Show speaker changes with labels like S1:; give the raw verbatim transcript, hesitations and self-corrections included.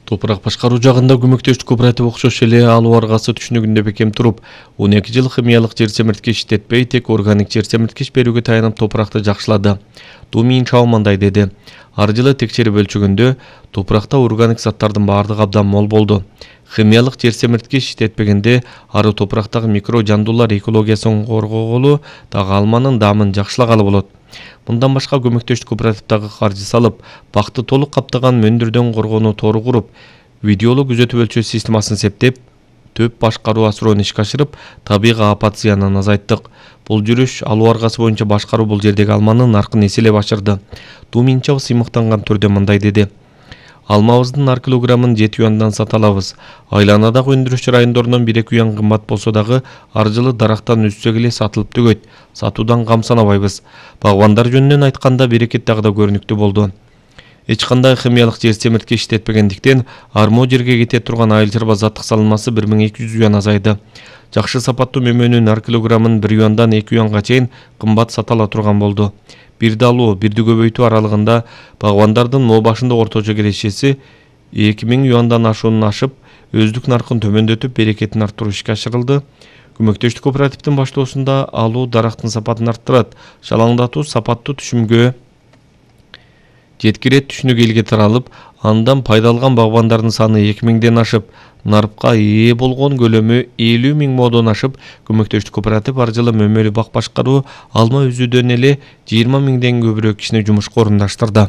S1: Топурак башкаруу жагында көмөктөштүк кооператив окшош эле алуу аргасы түшүнүгүндө бекем туруп, он эки жыл химиялык жер семирткич иштетпей, тек органик жер семирткич берүүгө таянып топуракты жакшылады. Думин Чао мындай деди. Ар жылы текшерип өлчөгөндө топуракта органик заттардын баардыгы абдан мол болду. Химиялык жер семирткич иштетпегенде ары топурактагы микро жандуулар экологиясын коргогулу, дагы алманын даамын жакшылагалы болот. Мындан башка көмөктөштүк кооперативдагы каржы салып, бакты толук каптаган мөндүрдөн коргоону тору куруп, видеолу күзөтүп өлчөө системасын септеп, төп башкаруу асыроонун ишке ашырып, табигый апат зыянын азайттык. Бул жүрүш алуу аргасы боюнча башкаруу бул жердеги алманын наркын эселеп ашырды. Думин Чао сыймыктанган түрдө мындай деди. Алмабыздын ар килограммын жети юандан сата алабыз. Айланадагы өндүрүш райондорунан бир эки юан кымбат болсо дагы ар жылы дарактан үссөк эле сатылып түгөйт. Сатуудан кам санабайбыз. Багбандар жөнүнөн айтканда берекет дагы да көрүнүктүү болду. Эч кандай химиялык жер семирткич иштетпегендиктен армо жерге кете турган айыл чарба заттык салынмасы бир миң эки жүз юан азайды. Жакшы сапаттуу мөмөнүн ар килограммын бир юандан эки юанга чейин кымбат сата ала турган болду. Бирди алуу, бирди көбөйтүү аралыгында багбандардын мо башында орточо келишеси эки миң юандан ашуунун ашып, өздүк наркын төмөндөтүп, берекетин арттыруу ишке ашырылды. Көмөктөштүк кооперативдин баштоосунда алуу дарактын сапатын арттырат, шалаңдатуу сапаттуу түшүмгө жеткирет түшүнүк элге таралып, андан пайда алган багбандардын саны эки миңден ашып, нарыпка ээ болгон көлөмү элүү миң модон ашып, көмөктөштүк кооператив ар жылы мөмөлүү бак башкаруу, алма үзүүдөн эле жыйырма миңден көбүрөөк кишини жумушка орундаштырды.